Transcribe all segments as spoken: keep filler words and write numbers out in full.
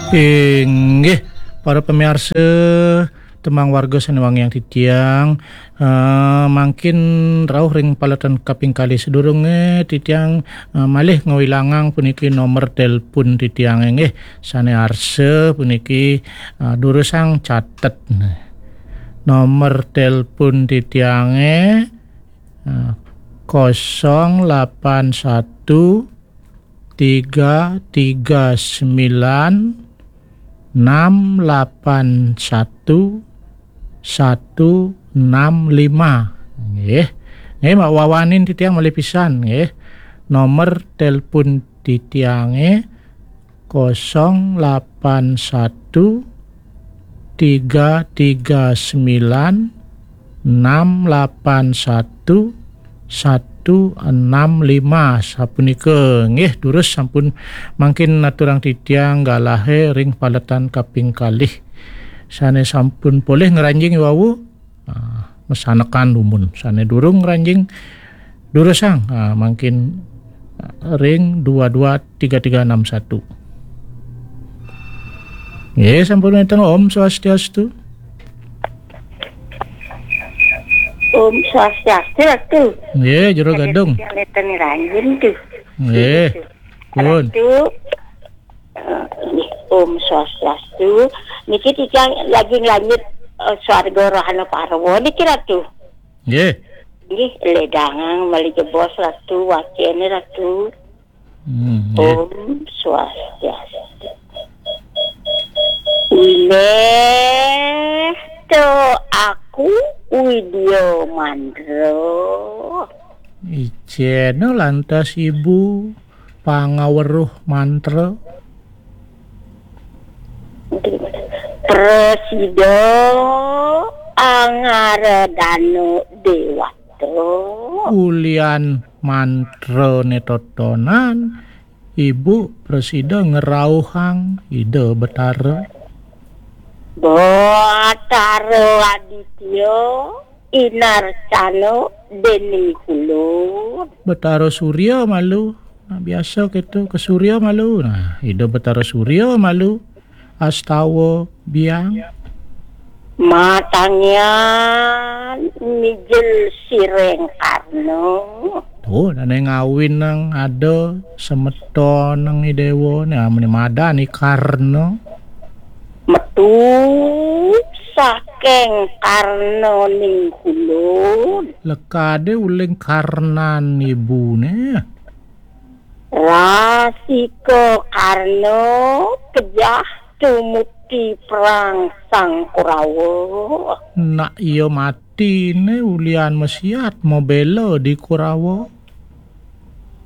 Inggih, para pamiarsa, tembang warga sané wangiang titiang, eh, mangkin rauh ring paletan kaping kalih. Sadurungé titiang, eh, malih ngawilangang puniki nomor telepon titiang, inggih, sané arsa puniki, eh, durusang catet. Nomor telepon titiangé, eh, kosong lapan satu tiga tiga sembilan enam lapan satu satu enam lima. Nggih. Nggih, mak wawanin titiang malih pisan, nggih. Nomor telepon titiangé kosong lapan satu tiga tiga sembilan enam lapan satu satu enam lima. Sapunika, nggih, durus sampun mangkin aturang titiang galahé ring paletan kaping kalih. Sané sampun polih ngranjing wau, ah, masanekan dumun. Sané durung ngranjing, durusang, ah, mangkin, ah, ring dua dua tiga tiga enam satu. Nggih, sampun wénten. Om Swastiastu. Om Swastiastu, Ratu. Nggih, Jero Gadung. Nggih, pun. Ratu, eh, Om Swastiastu. Niki titiang lagi nglanjut, eh, Swarga Rohana Parwa niki, Ratu. Nggih. Nggih, ledangang malih jebos, Ratu, wacéné, Ratu. Hmm, nggih. Om Swastiastu. Wiléh to aku Widya Mantra. Icéna lantas ibu pangaweruh mantra. Prasida Angaradana Déwata. Ulian mantrané totonan, ibu prasida ngrauhang Ida Betara. Betara Aditya, Inarcana, Déning Kulun. Betara Surya malu. Nah, biasa kéto ka Surya malu. Nah, Ida Betara Surya malu. Astawa biang. Matangian mijil siring Karna. Tuh, dané ngawinang ada semeton nang i déwa, né amuné madan i Karna. Metu saking Karna ning Kulun. Lekadé uling Karnan ibuné. Rasika Karna kejah tumukti perang Sang Kurawa. Nak iya matiné ulian masiat mabéla di Kurawa.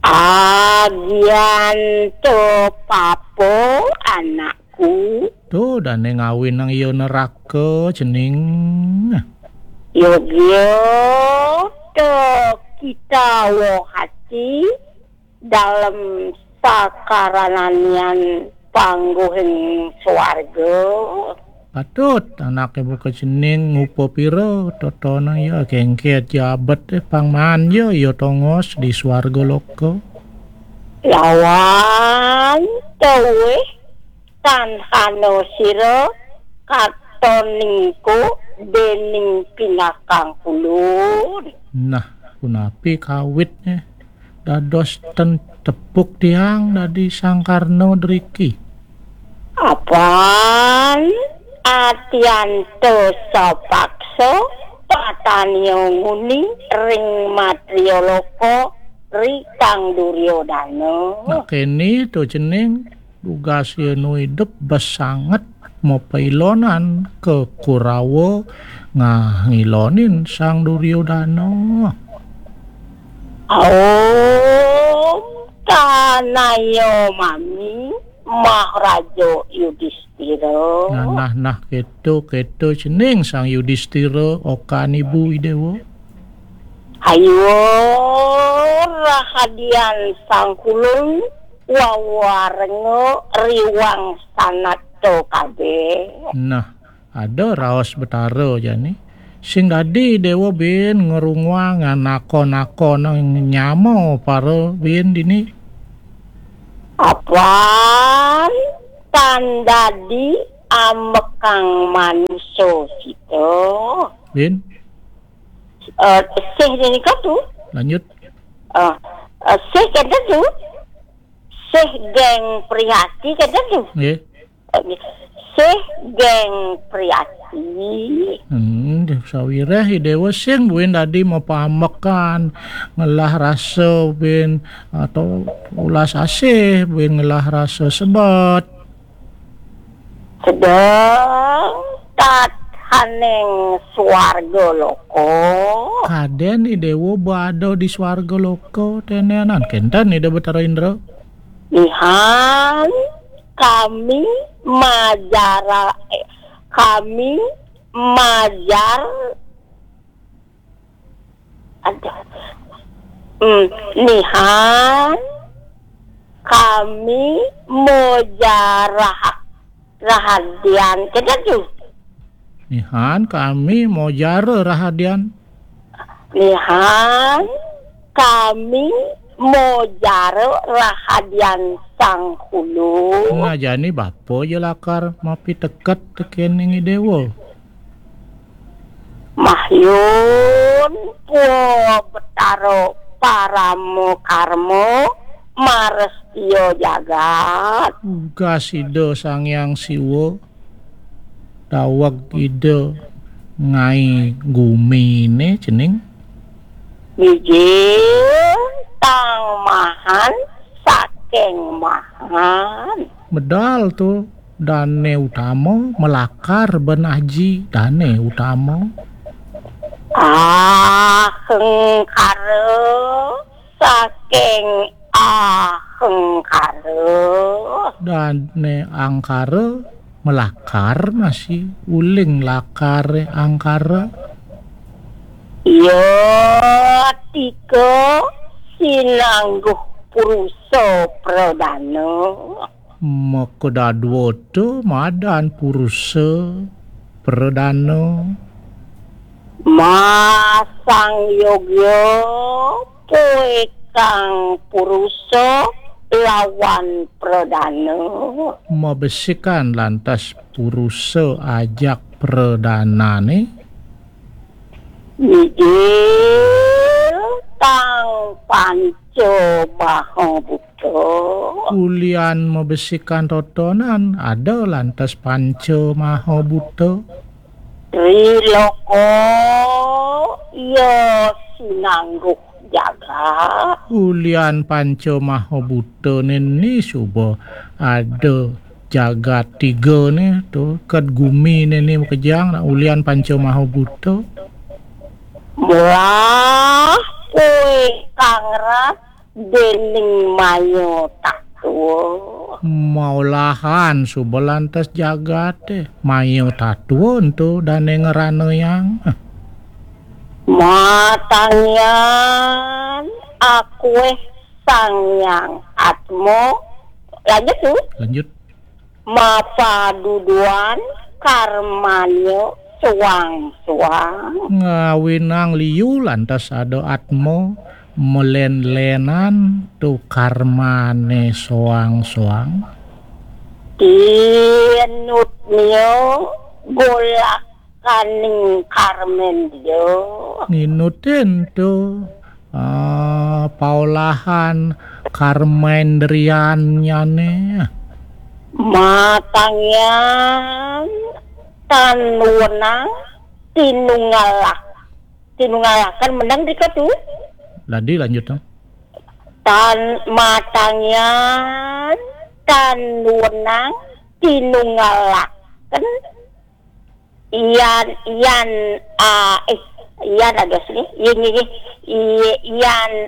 Agian to papa anakku. Tuh, dané ngawinang iya neraka, cening. Yogya to kita wohati dalem sakarananian pangguhing swarga. Patut anaké buka cening ngupa pira totonan ya kengket jabet, eh, pang manja ya tongos di swarga loka. Lawan tawih tanhana sira katon ningko dening pinakang Kulun. Nah, punapi kawitné dados ten tepuk tiang dadi Sang Karna driki? Apan atianto sapaksa patania nguni ring matriya loka ri Kang Duryodana. Nah, kéné to cening. Dugas yén nu idup bes sanget mapailonan ka Kurawa, ngah ngilonin Sang Duryodana. Om tanaya mami Maharaja Yudistira. Nah, nah, nah, kéto, kéto cening Sang Yudistira, okan ibu i déwa. Ayo rahadian Sang Kulun wawarenga riwang sanata kabéh. Nah, ada raos Betara jani. Sing dadi déwa bin ngrunguang anaka-naka nang nyama para bin dini. Apan Dadi ambekang manusa kita. Bin. Eh, sih nika tu. Lanjut. Eh, eh, sih kata tu. Sih geng prihati kata tu. Nggih. Eh, sih geng prihati. Hmm, sawireh Idewa sing buin dadi mapamekan ngelah rasa bin atau ulas asih bin ngelah rasa sebet. Sedeng tathaning swarga loka. Kaden Idewa bada di swarga loka tenenan kenten Ida Betara Indra. Ihan kami majara, eh, kami majar, aduh. Hmm, nihan kami mojarah rahadian. Kena tu. Nihan kami mojara rahadian. Nihan kami mojara rahadian Sang Hulu. Nah, jani bapa ja lakar mapiteket tekening Idewa. Mahyun pua Betara parama karma marestia jagat. Tugas Ida Sang Hyang Siwa daweg Ida ngai gumine cening. Mijil tang mahan saking mahan. Medal tu dane utama melakar ben aji dane utama. Ahengkara saking ahengkara. Dane angkara melakar masih uling lakare angkara. Ya tika sinangguh purusa pradana. Maka dadwata madan purusa pradana. Masang yogya poekang purusa lawan pradana. Mabesikan lantas purusa ajak pradanane. Mijil tang panca maha buta. Ulian mabesikan totonan ada lantas panca maha buta. Triloka iya sinangguh jagat. Ulian panca maha buta nini suba ada jagat tiga ni tu, ket gumi ni, ni makejang nak ulian panca maha buta. Mulah kue kangrat dening maya tatua. Maulahan suba lantas jagat eh. Maya tatua ento dane ngerana yang. Matangyan akueh Sang Hyang Atma. Lanjut tu. Lanjut. Mapaduduan karmanya suang-suang. Ngawinang liu lantas ada atma melen-lenan tu karmane suang-suang. Tinutnya golak kaning karmen dia. Nginutin tu ah, paolahan karmendriannyane. Matangyan tan wenang tinungalak. Tinungalakan menang dika tu. Ladi lanjut tu. Tan matangyan tan wenang tinungalakan Ian, Ian, ah, eh, Ian ada sini. Ini, ini, I-, Ian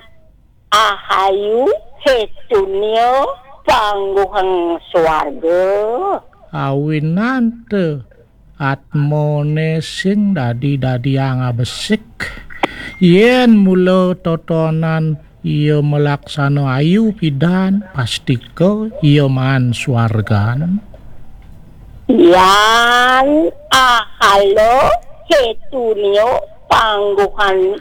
Ahayu Hetunia Pangguhang Swarga. Awinan te atmone sing dadi-dadiang abesik. Yen mula totonan iya malaksana ayu pidan, pastika iya maan swargan. Yan ahala hetunia pangguhan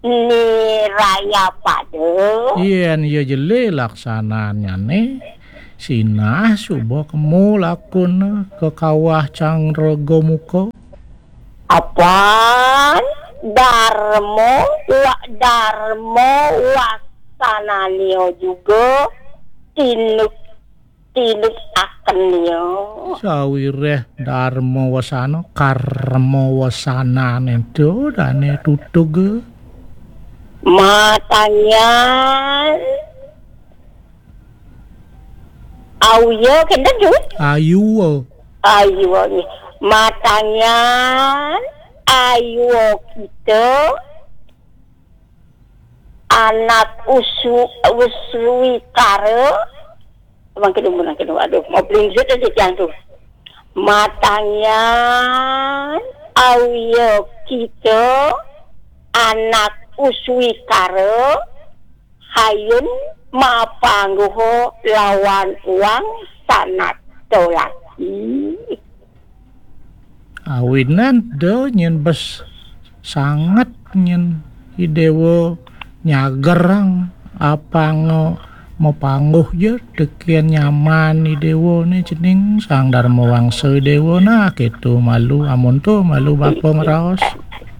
niraya pada. Yen iya jele laksananyane, Sinah suba kemu lakun ka kawah Cangraga Muka. Apan Darma wa Darma wasanania juga tinuk tinuk akenia. Sawireh Darma wasana, karma wasanane ento dane tutug. Matangian Auya kenten tu? Ayua. Ayua ni. Matangian Ayua kita anak usu uswikara. Mangkin umur mangkin. Aduh, mau pelinjut aja tiang tu. Matangian Auya kita anak uswikara hayun mapangguha lawan uang sanat laki. Awinan da nyen bes sanget nyen idewa nyagerang apanga mapangguh ja teken nyaman idewa ne cening Sang Dharma Wangsa idewa nah keto malu amun to malu bapa ngraos.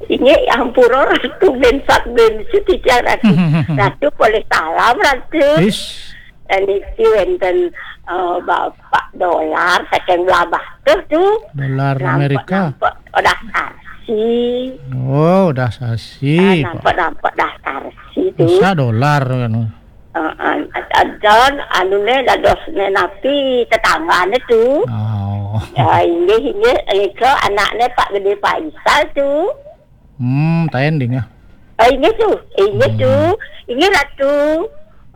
Inggih ampura Ratu bensat bensu titiang Ratu. Ratu polih salam Ratu. Is. Niki wenten eh, Bapak Dolar saking Blabah tuh tu. Dolar Amerika. Nampak udah sasi. Oh, udah sasi. Ah, nampak nampak dah sasi tu. Bisa dolar kan. Heeh, dan anu ne dados ne napi tetanggane tu. Oh. Ya, inggih inggih nika anakne Pak Gede Faisal tu. Hmm, taen dingeh. Ah, inggih tu. Inggih tu. Hmm. Inggih Ratu.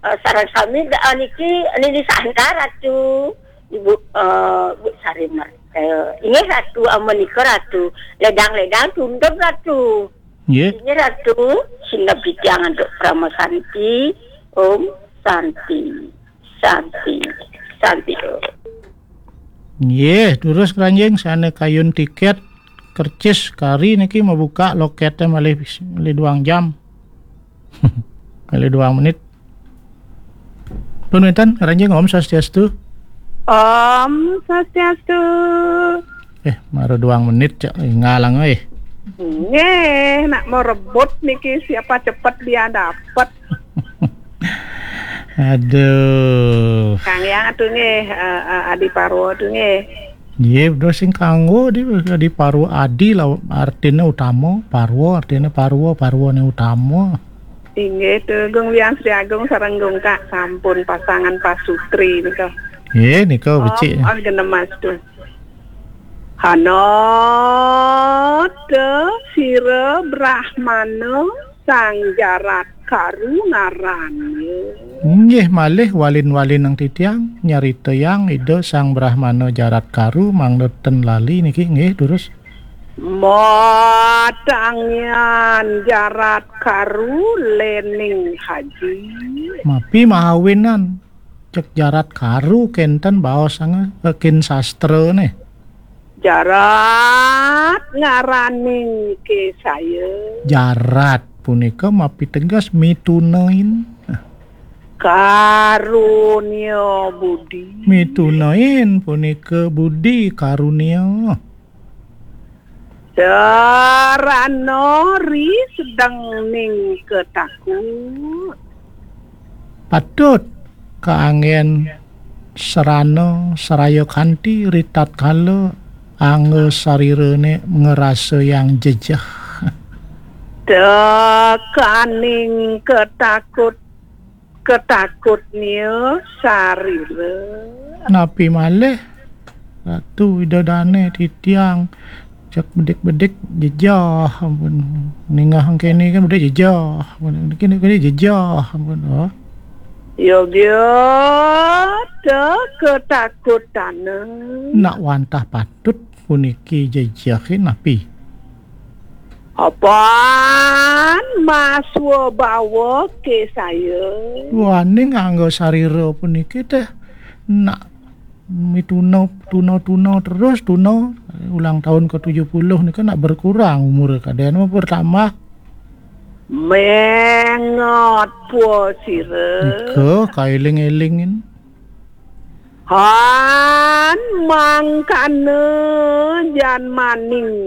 Ah, sareng sami da ah, niki Nini Sandra Ratu. Ibu eh, Bu Sari Marta. Inggih Ratu amun nika Ratu. Ledang-ledang tunduk Ratu. Nggih. Inggih Ratu, singgah pitiang antuk Parama Santi. Om Santi. Santi. Santi. Nggih, terus keranjing sane kayun tiket kercis kari niki mabuka lokete malih malih duang jam. Malih duang menit. Pun wenten keranjing Om Swastiastu. Om Swastiastu. Eh, mara duang menit cak ngalang eh. Nggih, nak mau rebut niki siapa cepat dia dapat. Aduh. Kang Yang atuh nggih, eh, eh, Adi Parwa atuh nggih. Nggih, bener sing kanggo di Adi Parwa, Adi lah artine utama, Parwa artine Parwa, Parwane utama. Inggih, tuh Gung Liang Sri Agung sareng Gung Kak sampun pasangan pasutri nika. Nggih, nika becik. Oh, genemas tuh. Hanata sira Brahmana Sang Jarat Karu ngarane. Nggih malih walin-walin nang titiang nyaritayang Ida Sang Brahmana Jarat Karu mangda ten lali niki nggih durus. Matangian Jarat Karu lening haji. Mapi mahawinan cek Jarat Karu kenten baos anga kin sastra ne. Jarat ngaraning kesaya. Jarat punika mapiteges mitunain. Karunia budi. Mitunain punika budi karunia. Sarana ri sedeng ning ketakut. Patut kaanggen sarana saraya kanti ritatkala angga sarirane ngrasayang jejeh. Tekaning ketakut ketakutnya sarira. Napi malih Ratu Ida Dane titiang cek bedik-bedik jejah ampun. Ningah kene kan bedik jejah ampun. Kene kene jejah ampun. Oh. Yogya te ketakutane. Nak wantah patut puniki jejehe napi? Apan maswa bawa kesaya. Wani nganggo sarira puniki teh nak mituna tuna-tuna terus tuna ulang tahun ke tujuh puluh nika nak berkurang umur kadene mah bertambah. Mengot pua sira. Nika kailing-elingin. Hān, mangkana jhân maning